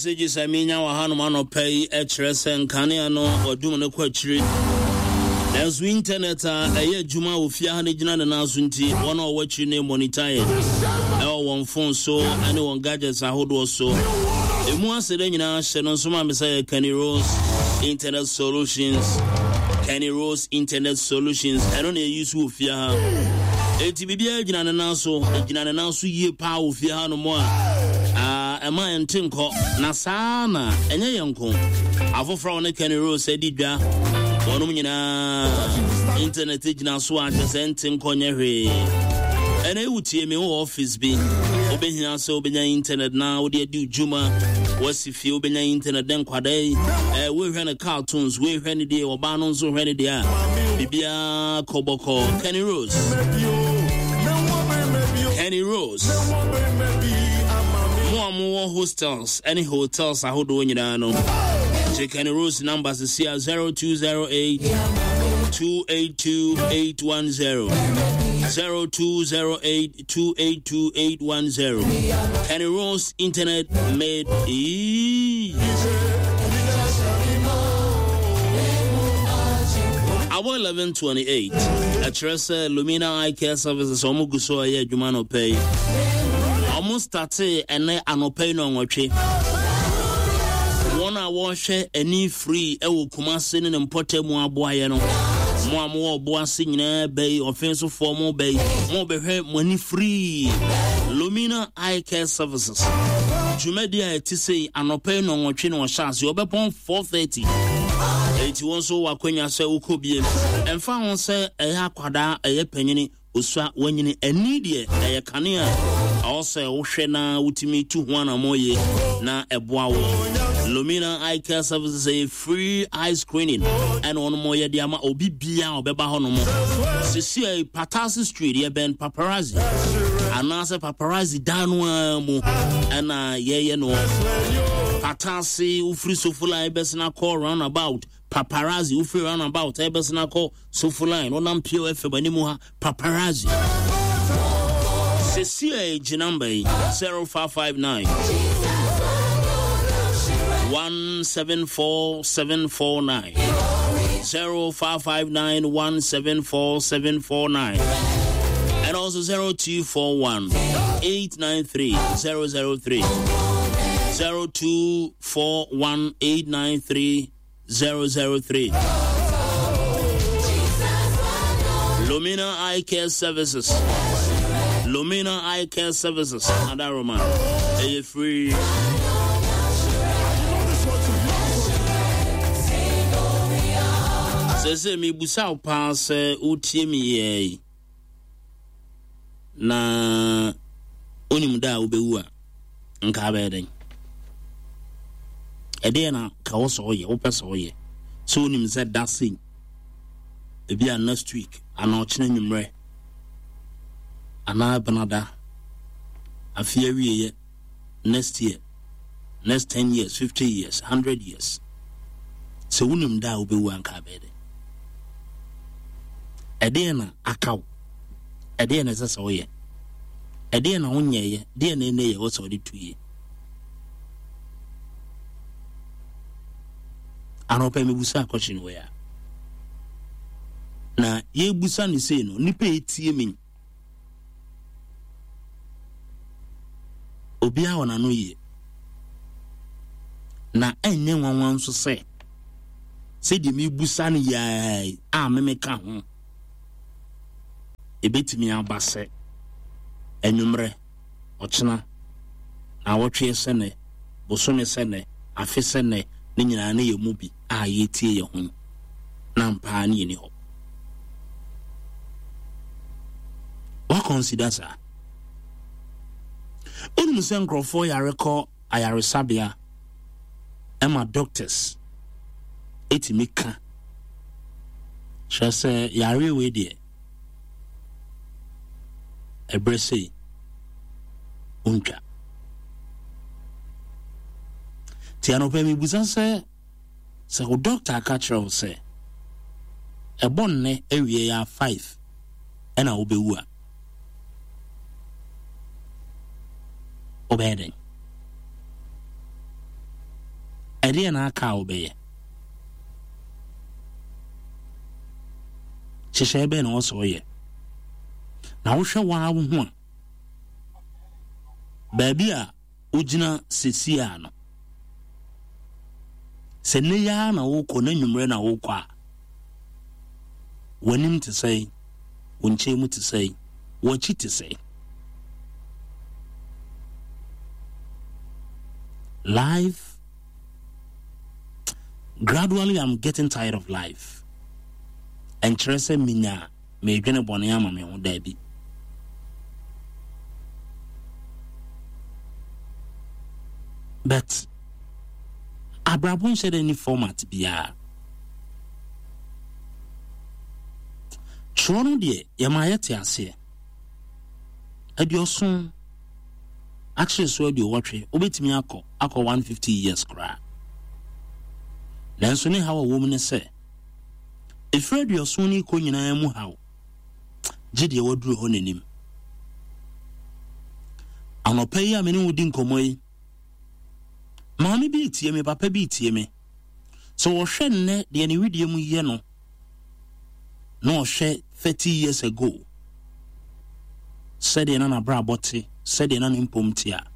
Messages a menya wɔ hanom anɔpa yi kyerɛ sɛ nkanea no wɔadum no kɔ akyiri. Nanso internet a ɛyɛ adwuma wɔ fie ha no gyina ne nan so nti, wɔn a wɔwɔ akyiri no monitor yɛ ɛwɔ wɔn phone so ne wɔn gadgets ahodoɔ so. Emu aseda nyinaa hyɛ no nso ma me sɛ yɛ Kenny Rose Internet Solutions. Kenny Rose Internet Solutions ɛno na yɛyi so wɔ fie ha. Enti biribiara gyina ne nan so, gyina ne nan so yie paa wɔ fie ha no mu a ɛma ɛnte nkɔ. Na saa na ɛnyɛ yɛn nko. Afoforɔ a wɔne Kenny Rose adi dwa, wɔnom nyinaa internet gyina so a kyerɛ sɛ ɛnte nkɔ nyɛ hwee. Ɛna ewu tie me wɔ office bi, wobɛhia sɛ wobɛnya internet na wode adi dwuma, wasi fie wobɛnya internet dɛ nkwadaa yi, wohwɛ no cartoons, wohwɛ no deɛ, ɔbaa no nso hwɛ no deɛ a, biribiara kɔ bɔkɔɔ. Kenny Rose. Kenny Rose. Mo a mowɔ hostels ne hotels ahodoɔ nyinaa no, gye Kenny Rose number sisi a 0208 282 810. 0208 282 810. Kenny Rose Internet made easy. Awɔ 11:28 ɛkyerɛ sɛ Lumina Eye Care Services wɔn gu so ɛyɛ adwuma anɔpɛ yi. Wɔn startee ɛnɛ anɔpɛ yi nɔnwɔtwe. Wɔn a wɔrehwɛ ani free ɛwɔ Kumase ne ne mpɔtam mu aboayɛ no. Mo a mowɔ ɔbo ase nyinaa bɛyi, ɔfen sofoɔ mo bɛyi, mo bɛhwɛ mo ani free. Lumina Eye Care Services. Dwumadi a ɛte sei anɔpa yi nɔnwɔtwe na ɔhyɛ ase ɔbɛpɔn 4:30. Eti wɔn nso wɔ akwanya sɛ wokɔ bie. Ɛmfa ho sɛ ɛyɛ akwadaa, ɛyɛ panyini, osua, wanyini, ani deɛ ɛyɛ kanea a ɛwɔ sɛ wohwɛ na wotumi tu ho anammɔn yie na ɛboa wo. Lumina Eye Care Services ɛyɛ free eye screening ɛna wɔn mo yɛ de ama obi bia a ɔbɛba hɔ nom. Sisi a Patasi Street yɛbɛn Paparazzi anaasɛ Paparazzi dan no ara mu ɛna yɛyɛ no. Patasi wofiri Sofoline bɛsena kɔ roundabout Paparazzi wofiri roundabout ɛbɛsena kɔ Sofoline wonam Pure FM anim ha Paparazzi. Sisi a gye namba yi 0559 174749 0559 174749 and also 0241 893 003 0241 893 003. Lumina Eye Care Services. Lumina Eye Care Services. Adaroma. Ɛyɛ free. Sɛ sɛ mebusa wo paa sɛ wotie me yɛi na wonim da a wobɛwu a nka abɛyɛ dɛn? Ɛdeɛ na ka wo sɛ woyɛ, wopɛ sɛ woyɛ. Sɛ wonim sɛ da sei, ebi a next week, anaa ɔkyena nwummerɛ, anaa benada, afe awieɛ, next year, next 10 years, 50 years, 100 years. Sɛ wonim da a wobɛwu anka abɛyɛ dɛn? Ɛdeɛ na aka wo? Ɛdeɛ na ɛsɛ sɛ woyɛ? Ɛdeɛ na wonyɛeɛ? Deɛ na ɛnɛ yɛ wɔ sɛ wode tu yie? Anɔpa mebusa akɔkye no wei a. Na yɛbusa no sei no, nipa etie me. Obiara wɔ n'ano yie. Na ɛnyɛ nwanwa nso sɛ sɛdeɛ mebusa no yɛa a memeka ho. Ebetumi aba sɛ anwummerɛ, ɔkyena, naawɔtwe sɛ nnɛ, bosome sɛ nnɛ, afe sɛ nnɛ, ne nyinaa ne yɛn mu bi a yɛretie yɛn ho no, na ampa ara ne yɛnni hɔ. Woakɔnsida saa? Wonim sɛ nkurɔfoɔ yare kɔ ayaresabea ɛma doctors ɛtumi ka kyerɛ sɛ yareɛ wei deɛ ɛberɛ sei wontwa. Nti anɔpa mebusa sɛ sɛ wo doctor aka kyerɛ wo sɛ ɛbɔ nnɛ awie yɛ a 5 ɛna wobɛwu a wobɛyɛ dɛn? Ɛdeɛn na aka a wobɛyɛ? Nhyehyɛeɛ bɛn na ɛwɔ sɛ woyɛ? Na wohwɛ wo ara wo ho a, baabi a wogyina seesei a no, sɛ nnɛ yi ara na wokɔ na anwummerɛ na wokɔ a, w'anim te sɛn? Wo nkyɛn mu te sɛn? W'akyi te sɛn? Life, gradually I'm getting tired of life. Ɛnkyerɛ sɛ menya meredwene bɔne ama me ho, daabi. But abrabɔ nhyɛ dɛ ni format biara. Twerɛ no deɛ yɛma yɛte aseɛ. Aduɔson akyere so aduowɔtwe wobɛtumi akɔ akɔ 150 years koraa. Nanso ne haw a ɛwɔ mu ne sɛ Ɛfiri aduɔson no rekɔ nyinaa mu haw, gye deɛ waduru hɔ n'anim. Anɔpa yi a me ne wo di nkɔmmɔ yi, maame bi retie me, papa bi retie me. Sɛ wɔhwɛ nnɛ deɛ ne wedeɛ mu yɛ no, na ɔhwɛ 30 years ago, sɛdeɛ na n'abrabɔ te, sɛdeɛ na ne mpom te a,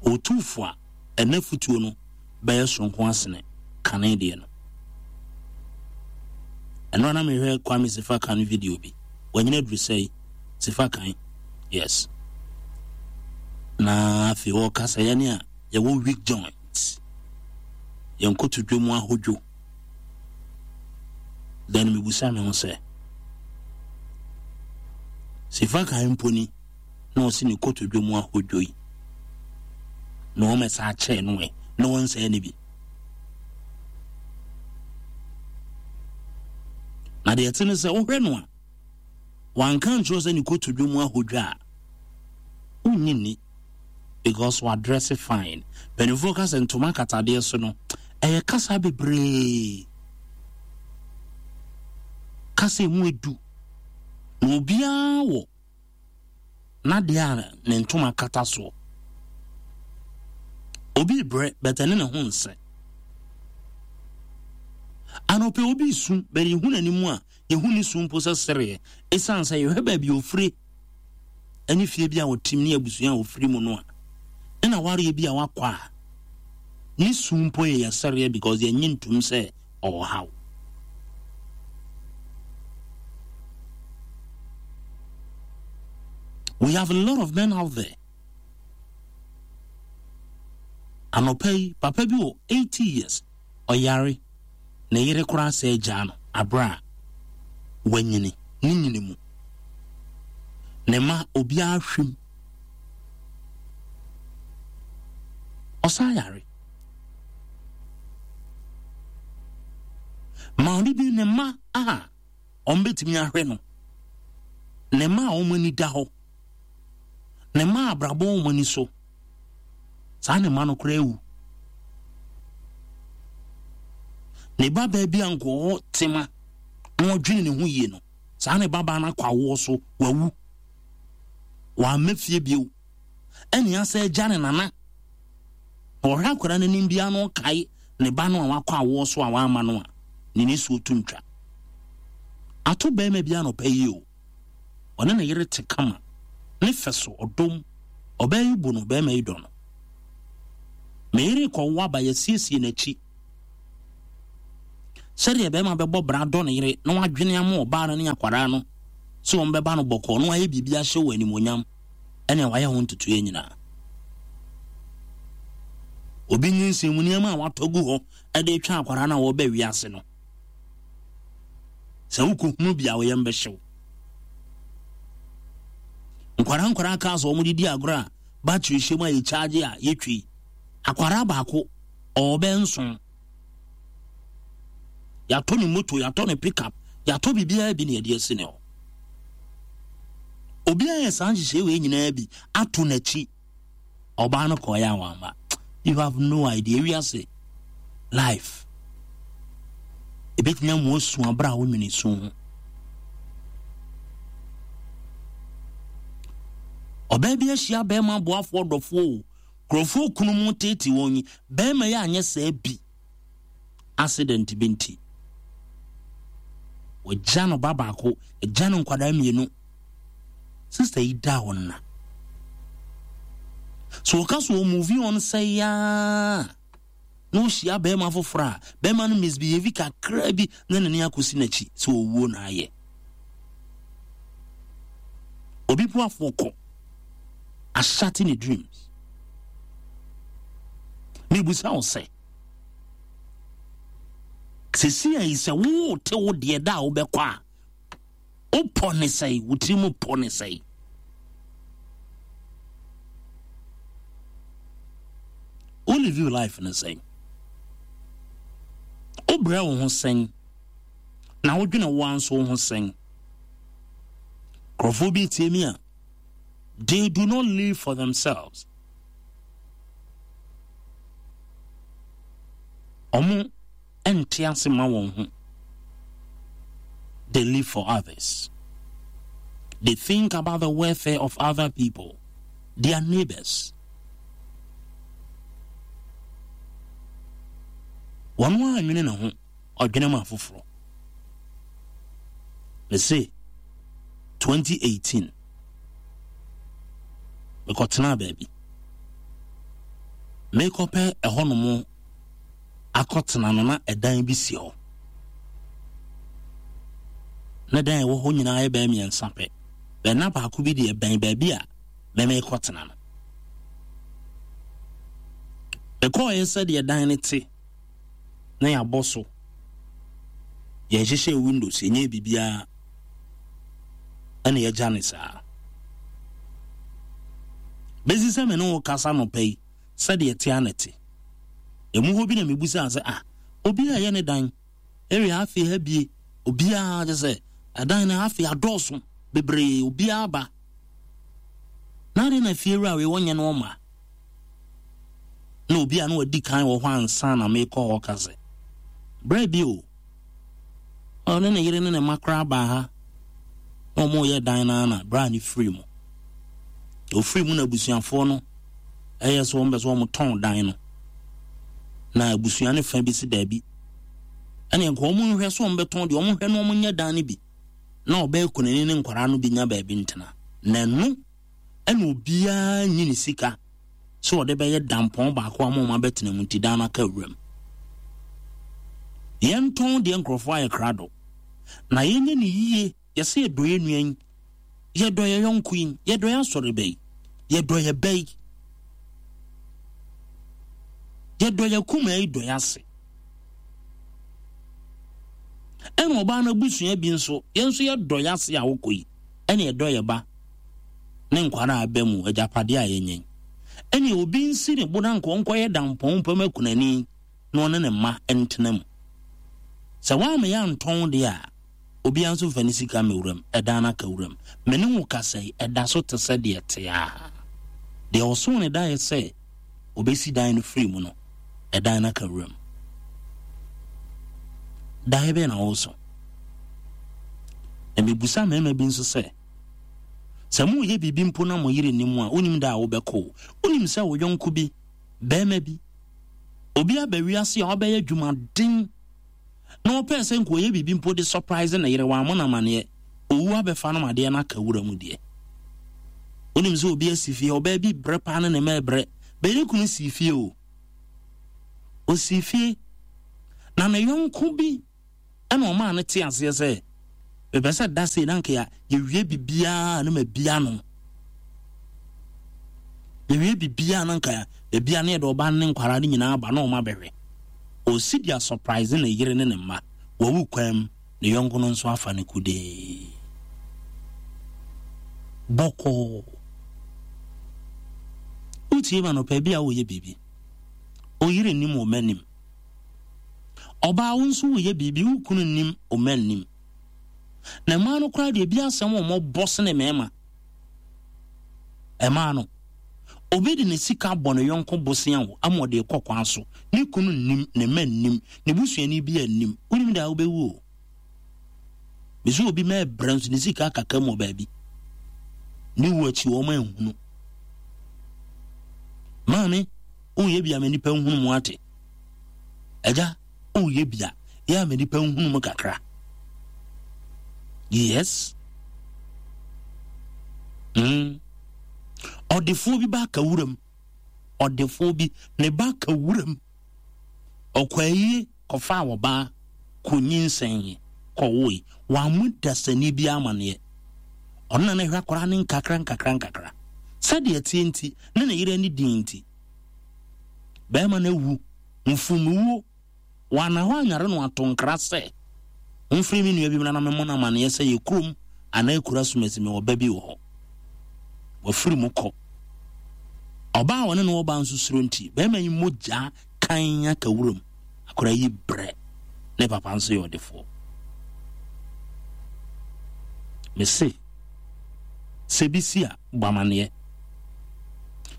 ɔtu fo a, ɛnɛ futuo no bɛyɛ soronko asene kane deɛ no. Ɛno na mehwɛ Kwame Sefa Kan video bi. Wanyina aduru sɛe Sefa Kan. Yes. Na afei wɔka sɛ yɛne a yɛwɔ weak joint. Yɛn kotodwe mu ahodwo. Then mebusa me ho sɛ Sefa Kan mpo ni na ɔsi ne kotodwe mu ahodwo yi na wɔmɛsa akyerɛ no ɛ na wɔnsɛe no bi na deɛ ɛte ne sɛ wohwɛ no a wanka nkyerɛ sɛ ne kotodwe mu ahodwo a wonnye nni because wadrɛse fine mpanimfoɔ ka sɛ ntoma akatadeɛ so no ɛyɛ kasa bebree kasa emu edu na obiara wɔ n'adeɛ a ne ntoma kata soɔ. Obi rebrɛ but ɛne ne ho nsɛ. Anɔpɛ obi resu but yɛhu n'anim a yɛhu ne su mpo sɛ sereɛ ɛsiane sɛ yɛhwɛ baabi ofire ɛne fie bi a ɔtim ne abusua a ofiri mu no a ne na wareɛ bi a wakɔ a ne su mpo yɛ yɛ sereɛ because yɛnye ntum sɛ ɔwɔ haw. We have a lot of men out there. Anɔpa yi, papa bi wɔ 80 years, ɔyare, ne yere koraa sɛ agyaa no abere a wanyini, ne nyini mu. Ne ma obiara hwim. Ɔsan yare. Maame bi ne mma a wɔbɛtumi ahwɛ no, ne mma a wɔn ani da hɔ, ne mma a abrabɔ wɔn ani so, saa ne mma no koraa awu. Ne ba baa bi a nkɔɔ tema na ɔdwene ne ho yie no, saa ne babaa no akɔ awoɔ so, wawu. Wamma fie bio. Ɛne asɛ agya ne nana. Na ɔhwɛ akwadaa no anim biara na ɔkae ne ba no a wakɔ awoɔ so a wamma no a, ne nisuo to ntwa. Ato barima bi anɔpa yi o, ɔne ne yere te kama, ne fɛ so, ɔdɔ mu. Ɔbaa yi bu no, barima yi dɔ no. Me yere rekɔwo aba, yɛasiesie n'akyi. Sɛdeɛ barima bɛbɔ bra dɔ ne yere na wadwene ama ɔbaa no ne akwadaa no sɛ wɔn bɛba no bɔkɔɔ na wayɛ biribi ahyɛ wɔ animuonyam. ɛne wayɛ ho ntotoeɛ nyinaa. Obi nyinsɛn mu nneɛma a watɔ gu hɔ de retwa akwadaa no a wɔreba wiase no, sɛ wokɔhunu bi a wo yam bɛhyew. Nkwadaa nkwadaa cars a wɔde di agorɔ a battery hyɛ mu a yɛkyaagye a yɛtwi akwadaa baako ɔwɔ bɛyɛ nson. Yɛatɔ ne moto, yɛatɔ ne pickup, yɛatɔ biribiara bi na yɛde asi ne hɔ. Obiara yɛ saa nhyehyɛe wei nyinaa bi ato n'akyi. Ɔbaa no kɔɔeɛ a wamma. You have no idea. Wiase life. Ebetumi ama wasu abere a wonwene su ho. Ɔbaa bi ahyia bɛrima aboafoɔ dɔfoɔ o. Nkurɔfoɔ kunu mu teetee wɔn yi, bɛrima yi anyɛ saa bi. Accident bi nti. Wɔgya no ba baako, gya no nkwadaa mmienu. Sister yi da wɔn na. So wɔka so wɔ movie on sɛ yaa na ɔhyia bɛrima foforɔ a, bɛrima no misbehave kakra bi na n'ani akɔsi n'akyi sɛ ɔwuo na ayɛ. Obi boafoɔ kɔ ahyate ne dreams. Mebusa wo sɛ, sɛsi ayi sɛ wote wo deɛ da a wobɛkɔ a, wopɔ ne sɛe, wo tiri mu pɔ ne sɛe. Wo live your life ne sɛn? Wobrɛ wo ho sɛn? Na wodwene wo ara nso wo ho sɛn? Nkurɔfoɔ bi tie mi a, they do not live for themselves. Ɔmo nte ase ma wɔn ho. They live for others. They think about the welfare of other people, their neighbors. Wɔn a nwene ne ho, ɔdwene ma afoforɔ. Mese 2018 mekɔtenaa baabi. Mekɔpɛ ɛhɔnom akɔtena no na ɛdan bi si hɔ. Na dan a ɛwɔ hɔ nyinaa yɛ bɛyɛ mmiɛnsa pɛ. Bɛn na baako bi deɛ bɛn baabi a mɛmekɔtena no. Mekɔɔeɛ sɛdeɛ dan no te na yɛabɔ so. Yɛnhyehyɛɛ windows, yɛnyɛɛ biribiara ɛna yɛagya ne saa. Bɛsi sɛ me ne wo kasa nɔpa yi, sɛdeɛ ɛte ara na ɛte. Emu hɔ bi na mebusaa sɛ, ah, obi a ɛyɛ ne dan, area afei ha bie, obiara kyɛ sɛ ɛdan no afei adɔɔso bebree, obiara ba. Na adɛn na fiewura wei wɔnyɛ no ɔma? Na obi a na wadi kan wɔ hɔ ansa na mekɔ hɔ ka sɛ, berɛ bi o, Ɔne ne yere ne ne mma koraa baa ha na wɔreyɛ dan no ara na berɛ a ne firi mu. Ɔfiri mu na abusuafoɔ no ɛyɛ sɛ wɔn bɛ sɛ wɔn tɔn dan no. Na abusua no fa bi si daabi. Ɛne nka wɔn nhwɛ sɛ wɔn bɛtɔn deɛ wɔn nhwɛ na wɔn nyɛ dan no bi. Na ɔbɛyɛ kunani ne nkwaraa no bi nya baabi ntena. Na ɛno ɛna obiara nyi ne sika sɛ ɔde bɛyɛ dampɔn baako ama wɔn abɛtena mu nti dan no aka wuram. Yɛntɔn deɛ nkurɔfoɔ ayɛ krado na yɛnyɛ ne yie. Yɛsɛ yɛdɔ yɛn nua yi, yɛdɔ yɛn yɔnko yi, yɛdɔ yɛn asɔreba yi, yɛdɔ yɛn ba yi, yɛdɔ yɛn kumaa yi, dɔ yɛn ase. Ɛna ɔbaa no abusua bi nso, yɛn nso yɛdɔ yɛn ase a wokɔ yi, ɛna yɛdɔ yɛn ba. ne nkwa no a aba mu, agyapadeɛ a yɛanya yi. Ɛnneɛ obi nsi ne bo na nka ɔnkɔyɛ dampɔn mpam akunani na ɔne ne mma ntena mu. Sɛ woamma yɛantɔn deɛ a, obiara nso mfa ne sika mmɛwura mu, ɛdan no aka wuram. Me ne wo kasa yi, ɛda so te sɛ deɛ ɛte ara. Deɛ ɔsoo ne daeɛ sɛ ɔbɛsi dan no firi mu no, ɛdan no aka wuram. Daeɛ bɛn na woso? Na mebusa mmarima bi nso sɛ, Sɛ moreyɛ biribi mpo na mo yere nnim a, wonnim da a wobɛkɔ o. Wonim sɛ wo yɔnko bi, barima bi, obi aba wiase a wabɛyɛ adwumaden na ɔpɛɛ sɛ nka ɔyɛ biribi mpo de surprise ne yere, wammɔ no amaneɛ. Owu abɛfa no ma adeɛ no aka wura mu deɛ. Wonim sɛ obi asi fie, ɔbaa bi brɛ paa ne ne mma ɛbrɛ. Bɛyɛ ne kunu sii fie o. Ɔsii fie na ne yɔnko bi Ɛna ɔmaa no tee aseɛ sɛ, mepɛ sɛ da sei na anka yɛwie biribiara na mabia no. Yɛwie biribiara na anka yɛbia no yɛde ɔba ne nkwaraa no nyinaa aba na ɔma bɛhwɛ. Ɔsi de asɔpraise ne yere ne ne mma. Wawu kwan mu, ne yɔnko no nso afa no kudee. Bɔkɔɔ. Wotie ma nɔpɛ bi a woyɛ biribi. Oyere nim wo mma nim. Ɔbaa wo nso woyɛ biribi wo kunu nnim wo mma nnim. Na mmaa no koraa deɛ ebi asɛm wɔn bɔ sene mmarima. Mmaa no obi de ne sika bɔ ne yɔnko bosea wo ama ɔde kɔ kwan so ne kunu nnim ne mma nnim ne busuani bi nnim wonim da wobɛwu o. Bɛsɛ obi ma ɛbrɛ nso ne sika akaka mu wɔ baabi ne wu akyi wɔn anhunu. Maame, woyɛ bi ama nnipa nhunu mu ate. Agya, woyɛ bi a, yɛ ama nnipa nhunu mu kakra. Yes. Ɔdefoɔ bi ba aka wuram. Ɔdefoɔ bi ne ba aka wuram. Ɔkɔ ayie kɔfaa ɔbaa kɔnyinsɛn kɔwoe. Wammɔ dasani bi amaneɛ. Ɔno na na ɛhwɛ akwadaa no nkakra nkakra nkakra. Sɛdeɛ ɛteɛ nti, ne ne yere ani din nti, bɛrima no awu mfumuwuo. Wanna hɔ anyare no ato nkra sɛ, Momfrɛ me nua bi mmra na memmɔ no amaneɛ sɛ yɛ kurom anaa akura asumasi mewɔ ba bi wɔ hɔ. Wafiri mu kɔ. Ɔbaa a ɔne no wɔ ba nso suro nti, bɛrima yi mogya kan aka wuram. Akwadaa yi brɛ. Ne papa nso yɛ ɔdefoɔ. Mese, sɛ bi si a, bɔ amaneɛ.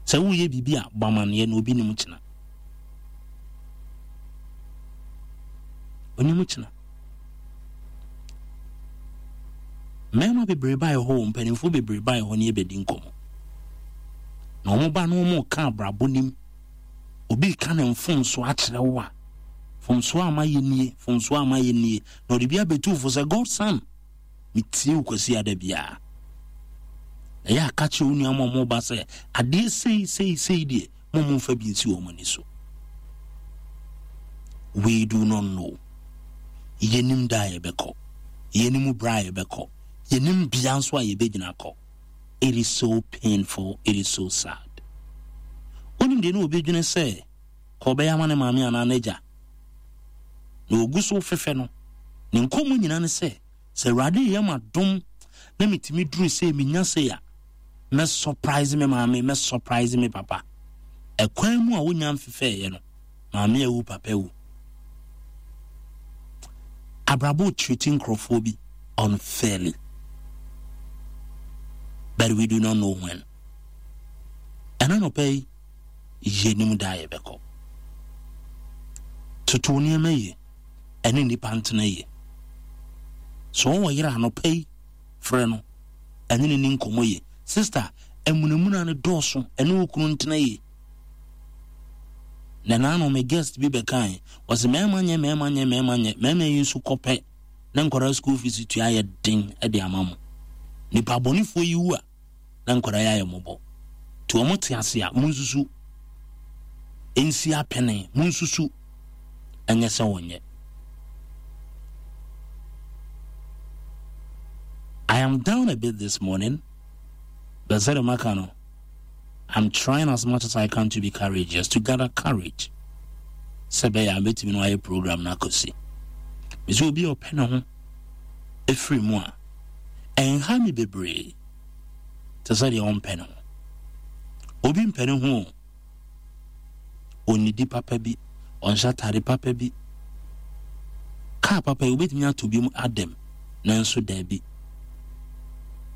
Sɛ woyɛ biribi a, bɔ amaneɛ na obi nim kyena. Onim kyena. Mmarima bebree baeɛ hɔ, mpanimfoɔ bebree baeɛ hɔ ne yɛbɛdi nkɔmmɔ. Na wɔn ba no wɔn ka abrabɔ nim. Obi ka ne mfomsoɔ akyerɛ wo a, mfomsoɔ a mayɛ nie, mfomsoɔ a mayɛ nie. Na ɔde bi abɛtu fo sɛ, Godson, metie wo kwasi ada biara. Na yɛ aka kyerɛ wo nua ma ɔmo ba sɛ, adeɛ sei sei sei deɛ, mo mo mfa bi nsi wɔn ani so. We do not know. Yɛnim da a yɛbɛkɔ. Yɛnim berɛ a yɛbɛkɔ. Yɛnim bea nso a yɛbɛgyina kɔ. It is so painful, it is so sad. Wonim deɛ ne obi dwene sɛ ka ɔbɛyɛ ama ne maame anaa n'agya. Na ogu so fefɛ no, ne nkɔmmɔ nyina ne sɛ, sɛ Awurade yɛ ma dom na metumi duru sɛ menya sei a, mɛ surprise me maame, mɛ surprise me papa. Ɛkwan mu a wonya mfefɛeɛ no, maame awu, papa awu. Abrabɔ treat nkurɔfoɔ bi unfairly. But we do not know when. Ɛna nɔpɛ yi, yɛnim da a yɛbɛkɔ. Toto nneɛma yie, ɛne nnipa ntena yie. So wɔwɔ yere anɔpɛ yi, frɛ no, ɛne ne ni nkɔmmɔ yie. Sister, amunamuna no dɔɔso, ɛne wo kunu ntena yie. Na naano me guest bi bɛkae, wɔse mmarima nyɛ, mmarima nyɛ, mmarima nyɛ, mmarima yi nso kɔpɛ na nkwadaa school fees tua ayɛ den de ama mo. Nipa bɔnefoɔ yi wu a, na nkwadaa yi ayɛ mmɔbɔ. Nti wɔn te ase a, monsusu nsi apene, monsusu ɛnyɛ sɛ wɔnyɛ. I am down a bit this morning, but sɛdeɛ maka no, I'm trying as much as I can to be courageous, to gather courage. Sɛ bɛyɛ a mɛtumi no ayɛ program no akɔsi. Mesɛ obi a ɔpɛ ne ho ɛfiri mu a, ɛnha me bebree te sɛ deɛ ɔmpɛ ne ho. Obi mpɛ ne ho o. Ɔnnidi papa bi, ɔnhyɛ atade papa bi. Kaa papa yi, wobɛtumi atɔ bi mu adam, nanso daabi.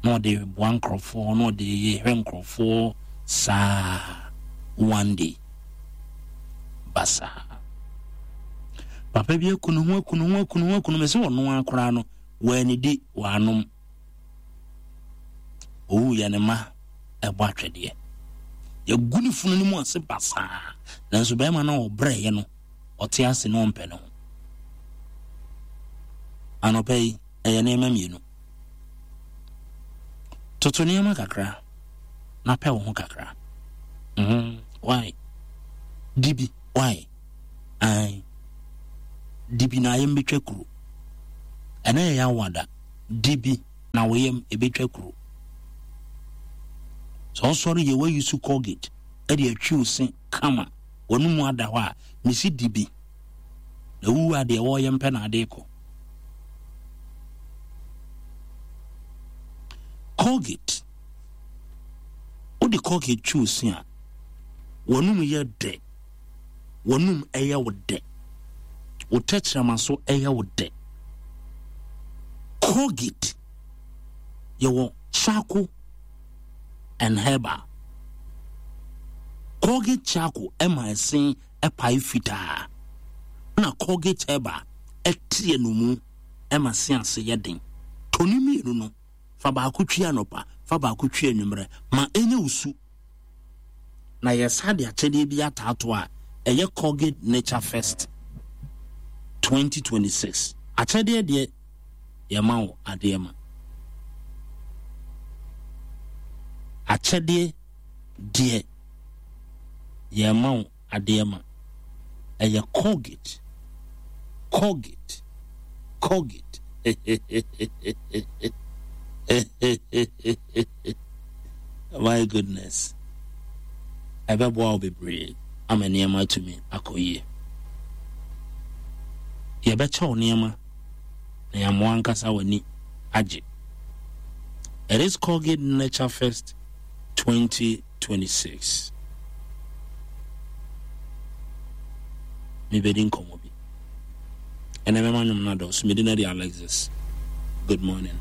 Na ɔde boa nkurɔfoɔ, na ɔde hwɛ nkurɔfoɔ saa one day. Basaa. Papa bi aku ne ho, aku ne ho, aku ne ho, aku ne ho. Mese ɔno ara koraa no, wannidi, wannom. Owu yɛ ne mma ɛbɔ atwɛdeɛ. Yɛgu ne funu no mu ase basaa. Nanso bɛrima no a ɔbrɛeɛ no, ɔte ase na ɔmpɛ ne ho. Anɔpa yi, ɛyɛ nneɛma mmienu. Toto nneɛma kakra na pɛ wo ho kakra. Mm, why? Di bi, why? Ae. Di bi na ayam bɛtwa kuro. Ɛnɛ yɛ yawada. Di bi na wo yam ɛbɛtwa kuro. Sɛ ɔsɔre yɛ wayi so Colgate ɛde atwi wo se kama wɔn mu ada hɔ a mesi di bi. Na wuwu a deɛ wɔyɛ mpɛ na ade kɔ. Colgate wode Colgate twi wo se a wɔn mu yɛ dɛ. W'anom yɛ wo dɛ. Wo tɛkyerɛma so yɛ wo dɛ. Colgate, yɛwɔ charcoal and herbal. Colgate charcoal ɛma ɛsen ɛpae fitaa. Na Colgate herbal ɛte anomu ɛma se ase yɛ den. Tɔ ne mmienu no, fa baako twi anɔpa, fa baako twi anwummerɛ. Ma ɛnyɛ wo su. Na yɛsa de akyɛdeɛ bi ataato a ɛyɛ Colgate Nature Fest 2026. Akyɛdeɛ deɛ yɛma wo adeɛ ma. Akyɛdeɛ deɛ yɛma wo adeɛ ma. Ɛyɛ Colgate, Colgate, Colgate. My goodness. Ɛbɛboa wo bebree ama nneɛma atumi akɔ yie. Yɛbɛkyɛ wo nneɛma na yɛamoa ankasa w'ani agye. It is Colgate Nature Fest 2026. Mebɛdi nkɔmmɔ bi. Ɛnɛ mɛma nnwom no adɔɔso. Medi no de Alexis. Good morning.